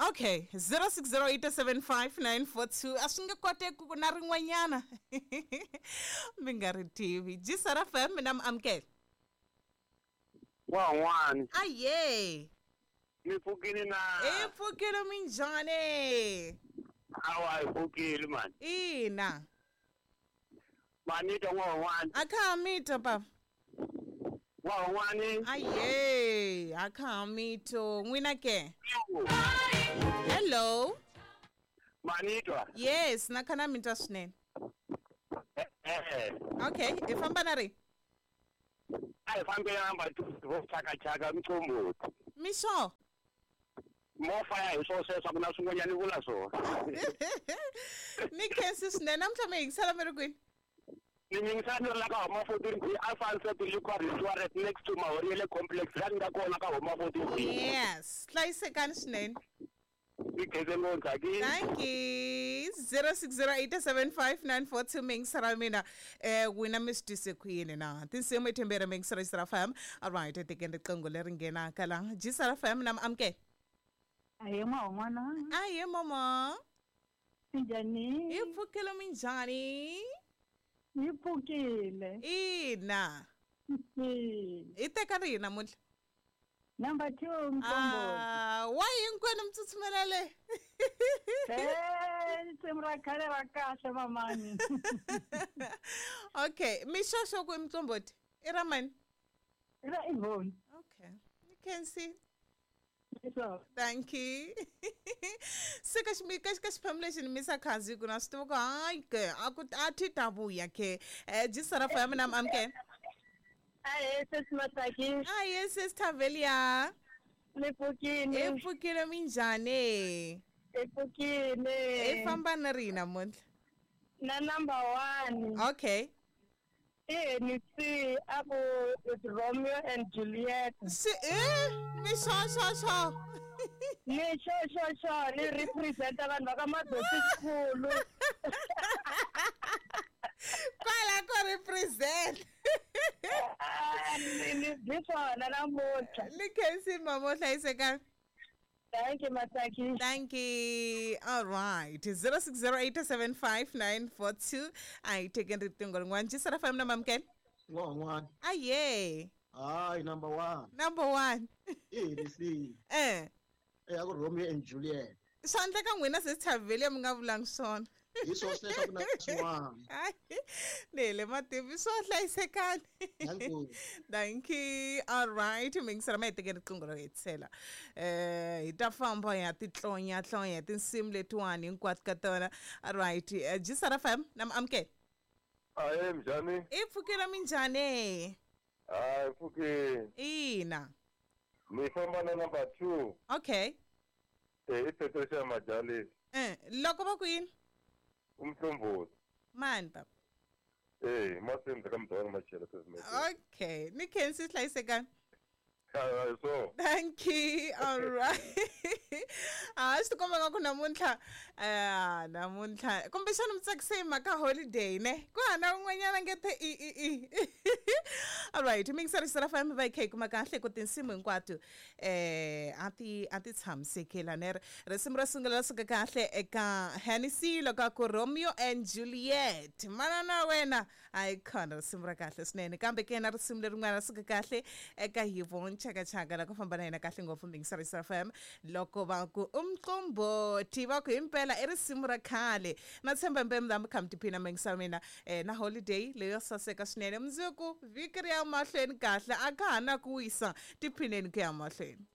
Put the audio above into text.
Okay, 06087594 a swi nge koteki ku na rin'wanyana mi nga ri tivi. Jisara FM, mina mi amukela. Wan'wani. Aye. Mi pfukile na? Hi pfukile, minjhani? Awa, hi pfukile mani. Ina. Manita n'wan'wani. A kha ha mito papa. Wan'wani. Aye, a kha ha mito. N'wina ke? Hello. Manitwa. Yes, na kha na mi twa swinene. Eh. Okay, hi famba na ri? A hi fambela number 2 vo chaka chaka mqombothi. Mixo. Mo faya hi swo sweswo ku na swin'wanyana vula swona. Ni khensi swinene, namuntlha mi yingisela mi ri kwini? Ni yingisela ni ri la ka Homa 14B, Alpha Set Liquor Restaurant next to Mahoriele Complex, la ni nga kona ka Homa 14B. Yes, hlayisekani swinene. Ni khense ngopfu, Tsaki. Thank you. 06087594 mi yingisela mina. Wina mi swi twise ku yini na? Tinsimu i timbirhi mi yingisela Jisara FM. All right, tekeni riqingho leri nghenaka la. Jisara FM, na mi amukela. Ahee n'wana. Ahee mama. Minjhani? Hi pfukile, minjhani? Hi pfukile. Ina. Hi teka rihi namuntlha? Number 2 Mqombothi. Ah, why hinkwenu mi tsutsumela le? Eh, risimu ra khale ra kahle mamani. Okay, mixoxo ku i Mqombothi. I ra mani? Ra Yvonne. Okay. You can see. So. Thank you. Se ka ka xiphemu lexi ni misa khazi ku na swi tiva ku hayi ke a ku a thi ta vuya ke. Jisara fa ya mina mi amukela. Ahee sesi Matsaki. Ahee sesi Thavelia. Ni pfukile. Hi pfukile, minjhani? Hi pfukile. Hi famba na rihi namuntlha? Na number 1. Okay. I Hennessy a ku it's Romeo and Juliet. Swi mi swo swo swo. Ni swo swo swo ni representa vanhu va ka Madosi Xikulu. Kwala ko represent. Ni byi swona namuntlha. Ni khensi mama, u hlayisekani. Thank you, Matsaki. Thank you. All right. 06087594 a hi tekeni riqingho rin'wana. Jisara FM na mamukela. N'wan'wana. Aye. Hayi, number 1. Number 1. I Hennessy. Eh. Ya ku Romeo and Juliet. Swa endleka n'wina sesi Thavelia mi nga vulangi swona. Hi swo sweswo ku na swin'wana. Ni hele mativi swo hlayisekani. Thank you. All right, mi yingisela ma hi tekeni riqingho ro hetisela. Hi ta famba hi ya titlonya tlonya tinsimu letiwani hinkwato ka tona. All right, Jisara FM na mi amukela. Ahee minjhani? I pfukile, minjhani? Hayi pfukile. Ina. Mi famba na number 2. Okay. I Patricia Majalisi. Loko va ku yini? Umqombothi. Mani papa? Masimba ka mudhawani machela sesi. Okay, ni khensi hlayisekani. So. Thank you. All right. A swi tikomba nga ku namuntlha namuntlha kumbexana mi tsakise hi mhaka holiday ne ku hana un'wanyana nge the i i i. All right, mi yingisela Jisara FM va hi kha hi kuma kahle ku tinsimu hinkwato a ti tshamisekela ne. Risimu ro sungula ra suka kahle eka Hennessy loko a ku Romeo and Juliet. Manana wena a yi khona risimu ra kahle swinene, kambe ke na risimu lerin'wana ra suka kahle eka Yvonne Chaka Chaka la ku famba na yena kahle ngopfu mi yingisela Jisara FM loko va ku Umqombothi va ku himpela i risimu ra khale. Na tshemba mpembe mi kha mi tiphina mi yingisela mina na holiday leyo saseka swinene. Mundzuku vhiki ri ya mahlweni kahle, a ka ha na ku wisa, tiphineni ku ya mahlweni.